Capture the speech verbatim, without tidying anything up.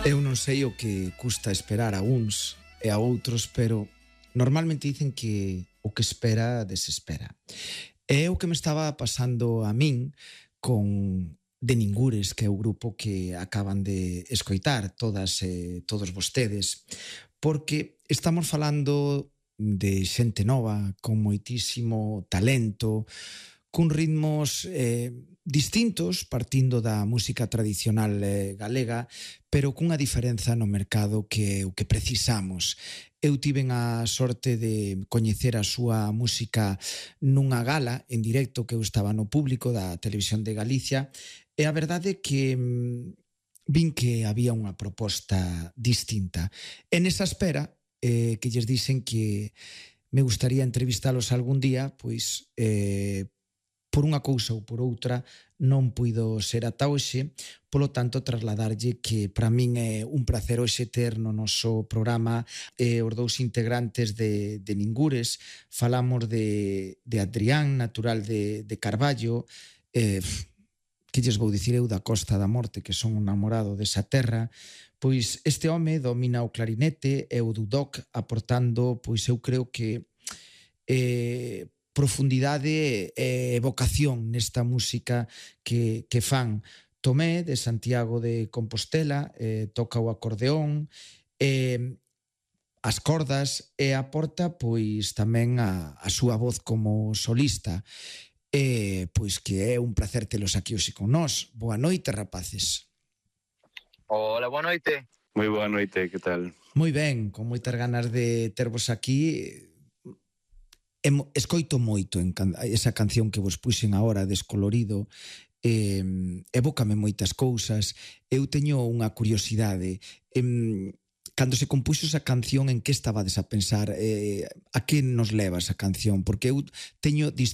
Eu non sei o que custa esperar a uns e a outros, pero normalmente dicen que o que espera desespera. É o que me estaba pasando a min con De Ningures, que é o grupo que acaban de escoitar todas e todos vostedes, porque estamos falando de xente nova, con moitísimo talento, cun ritmos eh, distintos, partindo da música tradicional eh, galega, pero cunha diferenza no mercado que é o que precisamos. Eu tiven a sorte de coñecer a súa música nunha gala en directo que eu estaba no público da Televisión de Galicia, e a verdade é que mm, vin que había unha proposta distinta. En esa espera, eh, que lles dixen que me gustaría entrevistalos algún día, pois eh, por unha cousa ou por outra non puido ser ata hoxe, polo tanto trasladarlle que para min é un placer hoxe ter no noso programa eh, os dous integrantes de, de Ningures. Falamos de, de Adrián, natural de, de Carballo, eh, que lles vou dicir eu da Costa da Morte, que son un namorado desa terra. Pois este home domina o clarinete e o dudok, aportando, pois eu creo que eh, profundidade e vocación nesta música que, que fan. Tomé, de Santiago de Compostela, eh, toca o acordeón, eh, as cordas, e aporta pois tamén a, a súa voz como solista. E pois que é un placer telos aquí hoxe con nós. Boa noite, rapaces. Hola, boa noite. Moi boa noite, que tal? Moi ben, con moitas ganas de tervos aquí. Escoito moito en can, esa canción que vos puxen agora, Descolorido, eh, evócame moitas cousas. Eu teño unha curiosidade. Eh, cando se compuxo esa canción, en que estabades a pensar? Eh, a que nos leva esa canción? Porque eu teño distintos